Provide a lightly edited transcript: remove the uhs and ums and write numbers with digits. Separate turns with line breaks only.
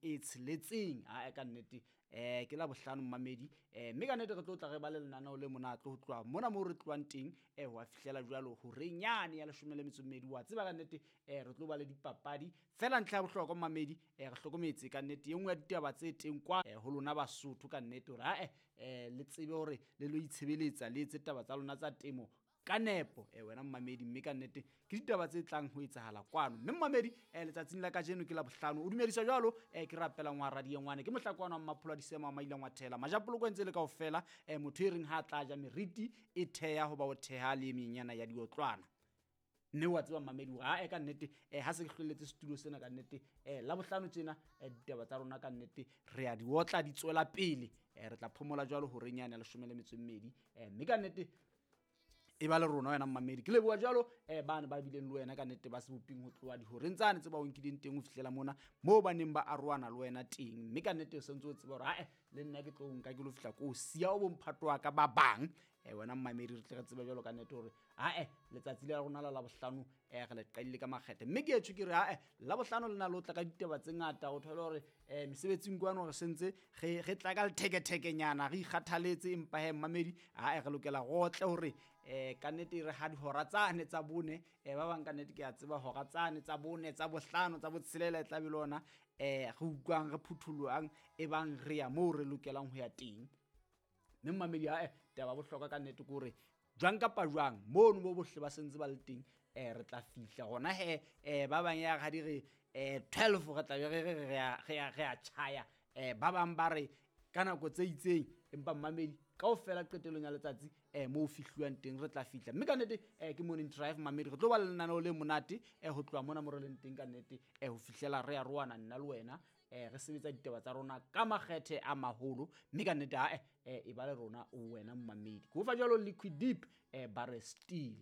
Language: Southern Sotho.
e tsheletseng. Ae ka nnete ke Labohlano mmamedi, mme ka nnete re tlo tla re ba le lenaneo le monate ho tloha mona moo re tlohang teng ho a fihlela jwalo horeng yane ya 12. Wa tseba ka nnete re tlo ba le dipapadi fela. Ntlha ya bohlokwa mmamedi, re hlokometse ka nnete e nngwe ya ditaba tse teng kwa ho lona Basotho ka nnete hore ae le tsebe hore le lo itshebeletsa, le etse taba tsa lona tsa temo ka nepo wena mmamedi. Mme ka nnete ke ditaba tse tlang ho etsahala kwano. Mme mmamedi, letsatsing la kajeno ke Labohlano, o dumediswa jwalo ke rapelang wa radiengwane, ke mohlakwana wa Mmapholo a Disema wa Maila Ngwathela Majapoloko ntse le kaofela, motho e reng ha a tla ja meriti e theha hoba o theha le e menyana ya diotlwana. Mme wa tseba mmamedi hore ae ka nnete ha se ke hlwelletse setulo sena ka nnete, Labohlano tjena ditaba tsa rona ka nnete re a di otla, di tswela pele. Re tla phomola jwalo horeng yane ya 12, mme ka nnete e ba le rona wena mmamedi. Ke leboha jwalo bane ba bileng le wena ka nnete ba seboping ho tloha dihoreng tsane tse ba o nkileng teng ho fihlela mona moo ba neng ba arohana le wena teng. Mme ka nnete o sentse o tseba hore ae le nna ke tlo nka ke lo fihla ko siya o bomphato wa ka ba bang. Wena mmamedi, re tle re tsebe jwalo ka nnete hore ae letsatsi la rona la Labohlano re le qadile ka makgethe. Mme ke etsho ke re ae Labohlano le na le ho tla ka ditaba tse ngata. O thole hore mesebetsing kwano re sentse re tla ka lethekethekenyana, re ikgathaletse, empa he mmamedi ae re lokela rotle hore ka nnete re ha dihora tsane tsa bone, ba bang ka nnete ke a tseba hora tsane tsa bone, tsa bohlano, tsa botshelela e tla be le ona re utlwang re phuthulohang e bang re ya moo re lokelang ho ya teng. Mme mmamedi ae taba bohlokwa ka nnete ke hore jwang kapa jwang mono bo bohle ba sentse ba le teng, re tla fihla hona he. Ba bang ya ha di re 12 re tla be re re re a tjhaya, ba bang ba re ka nako tse itseng, empa mmamedi kaofela qetellong ya letsatsi moo fihluwang teng re tla fihla. Mme ka nnete ke Morning Drive mmamedi, re tlo ba le lenaneo le monate ho tloha mona mo re leng teng ka nnete ho fihlela re arohana nna le wena, re sebetsa ditaba tsa rona ka makgethe a maholo. Mme ka nnete ae e ba le rona wena mmamedi. Ke o fa jwalo Liquid Deep, ba re Steel.